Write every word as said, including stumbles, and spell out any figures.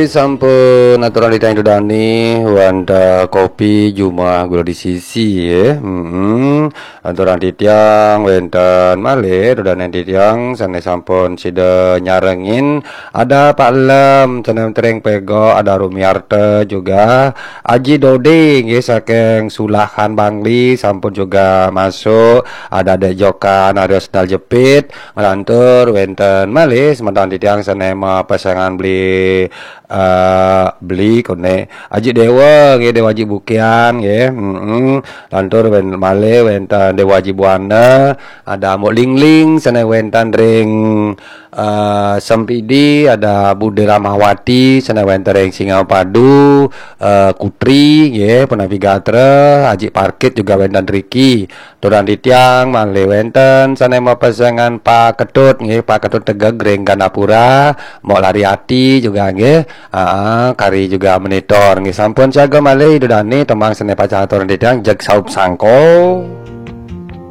Sampun aturang titiang Ida dane wantah kopi jumah gula di sisi, ya. Mm-mm. Aturang titiang wenten malih Ida dane titiang sane sampun sida nyarengin, ada Pak Lem sane wenten ring Pego, ada Rumiarta juga, Aji Dode nggih saking Sulahan Bangli sampun juga masuk, ada Dek Jokan, ada Sendal Jepit, nglantur wenten malih semeton titiang sane mapesengan beli, eh, beli kone Aji Dewa nggih, Dewa Aji Bukian nggih. Mm-mm. Lantur wen-, malih wenten Dewa Aji Buana, ada Mbok Lingling sane wenten ring, eh, Sempidi, ada Bude Ramawati sane wenten ring Singapadu, eh, Kutri nggih, Penapi Gatra, Aji Parkit juga wenten riki. Aturang titiang malih wenten sane mapesengan Pak Ketut nggih, Pak Ketut Tegeg ring Gandapura, Mbok Lariati juga nggih. Ah, kari juga monitor nggih. Sampun siaga malih Ida dane tembang sane pacang aturang titiang jeg saup sangko.